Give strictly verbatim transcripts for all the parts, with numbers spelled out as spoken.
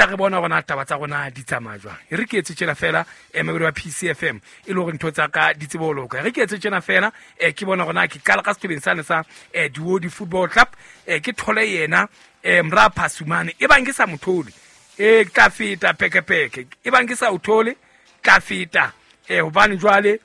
re bona hore na taba tsa rona di tsamaya jwang. E re ke etse tjena fela eh mabedi wa P C F M e le hore ntho tsa ka di tsebe ho loka. Re ke etse tjena fela eh ke bona hore na ke qala ka sethobeng sane sa eh Duodi Football Club eh ke thole yena eh mra Phasumane e bang ke sa mothole eh tla feta pekepeke e bang ke sa o thole tla feta eh hobane jwale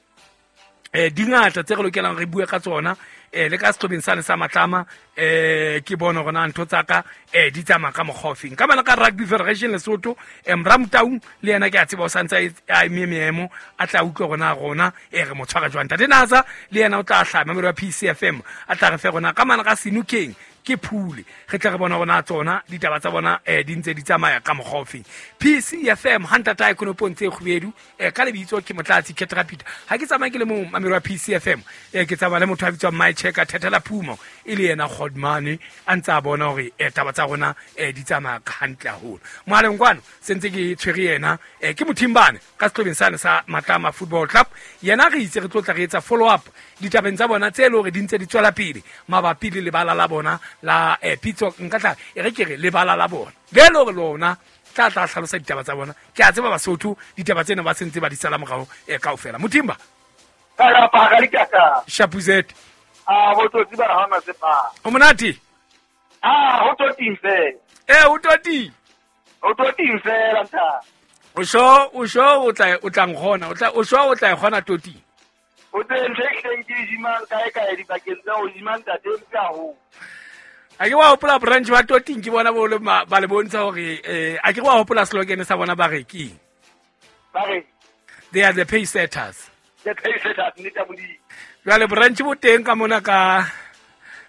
eh dingata tse re lokelang re bue ka tsona eh le ka sethobeng sane sa Matlama eh ke bona hore na ntho tsa ka eh di tsamaya ka mokgwa ofeng. Ka bana ka Rugby Federation Lesotho eh Mramtaung le yena ke a tseba o santse a eme meemo a tla utlwa rona rona eh re mo tshwara jwang. Ntate Naza le yena o tla hlama mabedi wa P C F M a tla re fe rona ka mana ka Senokeng ke phule re tla re bona rona tsona ditaba tsa bona eh di ntse di tsamaya ka mokgwa ofeng. P C F M ha ntata e konopong tse kgubedu eh ka lebitso ke Motlatsi Ketrapita. Ha ke tsamaye ke le mong mamelo wa P C F M eh ke tsamaya le motho a bitswang My Checker Thethela Phumo e le yena Godmane a ntse a bona hore eh taba tsa rona eh di tsamaya hantle haholo. Mohaleng kwano se ntse ke tshwere yena eh ke Mothimbane ka sehlobeng sane sa Matlama Football Club. Yena re itse re tlo tla re etsa follow up ditabeng tsa bona tse le hore di ntse di tswela pele mabapi le lebala la bona la eh pitso nka tla e re ke re lebala la bona le le hore lona tla tla hlalosa ditaba tsa bona. Ke a tseba Basotho ditaba tsena ba sentse ba di sala morao eh kaofela. Mothimba ka pa ka dikaka Shapuzet a bo tsotsi ba hona sepa o monate ah ho toting fela eh o toting o toting fela nta o sho o sho o tla o tla ngona o tla o sho o tla e kgona toting o teng tle ke jimang kae kae dibakeng tsa o jimang tate ke haholo. A ke wa hopola branch ba toting ke bona bo le ba le bontsha hore eh a ke wa hopola slogan sa bona ba re ke ba re they are the pay setters. The pay setters nnete ya Modimo. Jwale branch bo teng ka mona ka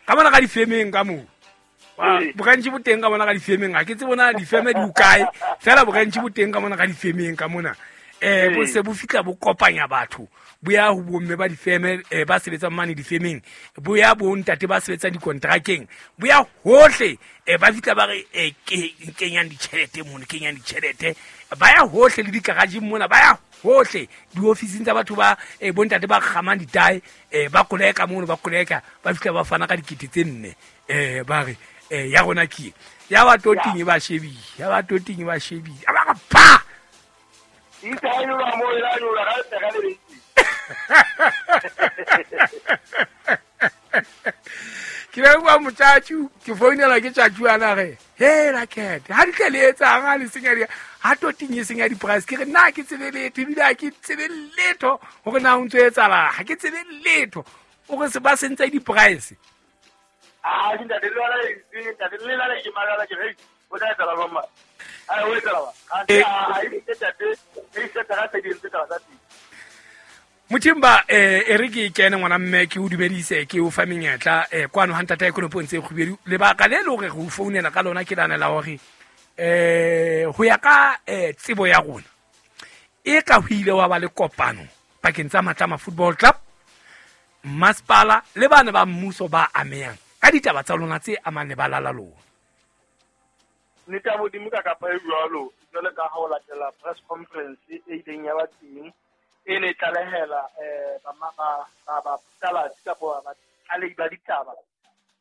ka mona ka difemeng ka moo. Branch bo teng ka mona ka difemeng ha ke tse bona difeme di hokae fela branch bo teng ka mona ka difemeng ka mona eh bo se bo fitla bo kopanya batho bo ya ho bomme ba difeme eh, ba sebetsang mane difemeng bo ya bo ntate ba sebetsang dikontrakeng bo ya hohle eh, ba fitla ba re eh, ke kenyang ditjhelete mono kenyang ditjhelete ba ya hohle le digarageng mona ba ya hohle diofising tsa batho ba eh, bo ntate ba kgamang ditae eh, ba koleka mono ba koleka ba fitla ba fana ka dikete tse nne eh, ba re eh, ya rona ke ya ba toting ba shebile ya ba toting ba shebile ba re pa itse mo ila nyola ga tsega le bentsi ke be bua motjatju ke founela ke tjatju ana re he la kete ha di tle le etsang ha le senya di ha toting e senya di price ke re nna ke tsebe letho ebile ha ke tsebe letho hore na ho ntso etsahala ha ke tsebe letho o re se ba sentse di price ah ntate le wala ntate le la ke malala ke re o tla etsa ba mma a o etsa ba ha e ntate e se tsa tse di ntse tsa tsa Mothimba eh e re ke kene ngwana mme ke o dumedise ke o fa menyetla eh kwano ha ntata ekonopong tse kgubedu lebaka le le hore re o founela ka lona ke lana la hore eh ho ya ka eh tsebo ya rona e ka ho ile wa ba le kopano pakeng tsa Matlama Football Club masipala le bana ba mmuso ba amehang ka ditaba tsa lona tse amang lebala la lona. Nnete ya Modimo ka kapa e jwalo jwale ka ha o latela press conference e ileng ya ba teng e ne tlalehela eh ba ba ba ba tsalatsi kapa ba tlalehi ba ditaba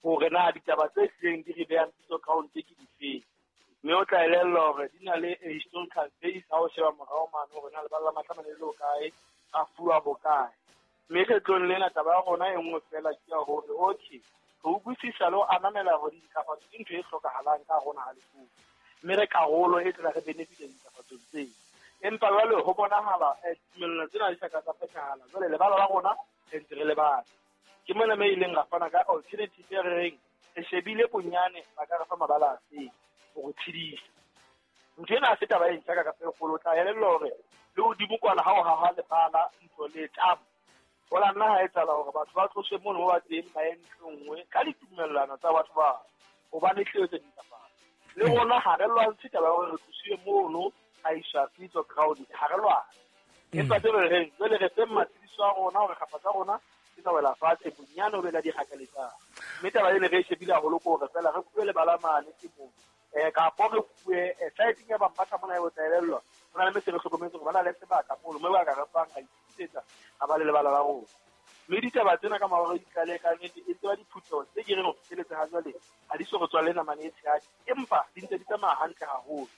hore na ditaba tse hlileng di re behang pitso ground ke difeng mme o tla elellwa hore di na le a historical base ha o sheba morao mane hore na lebala la Matlama le le hokae a fuwa bokae mme kgetlong lena taba ya rona e nngwe fela ke ya hore okay re utlwisisa le ho ananela hore dintlafatso ke ntho e hlokahalang ka rona ha Lesotho mme re karolo e tla re benefit-a dintlafatsong tseo empa jwale ho bonahala ditumellano tsena di sa ka tsa phethahala jwale lebala la rona re ntse re lebala ke mona me ileng ra fana ka alternative e re reng re shebile bonyane ba ka re fa mabala a feng ho re tshedisa ntho ena ha se taba e ntjha ka kapa e kgolo o tla elellwa hore le hodimo kwana ha o haha lebala ntlo le tamo ho la nna ha etsahala hore batho ba tloswe mono mo ba teng ba ye ntlo nngwe ka ditumellano tsa batho ba hobane tleo tse dintlafatso le rona ha re lwantshe taba ya hore re tlosiwe mono a iswa pitso ground ha re lwane empa tse re reng jwale re feng matshediso a rona hore kgapa tsa rona ke tsa wela fatshe bonyane o be la di hakaletsang mme taba ene re e shebile haholo ke hore fela re fuwe lebala mane temong eh kapo re fuwe siteng ya Bambatha mona e o tla elellwa ho na le mese re hlokometse hore ba na le sebaka mono mme ba ka re fang ra itukisetsa ha ba le lebala la rona mme ditaba tsena ka mora di tlalehe ka nnete e tseba diphutheho tse ke reng ho fihleletse ha jwale ha di so re tswale namane e tshehadi empa di ntse di tsamaya hantle haholo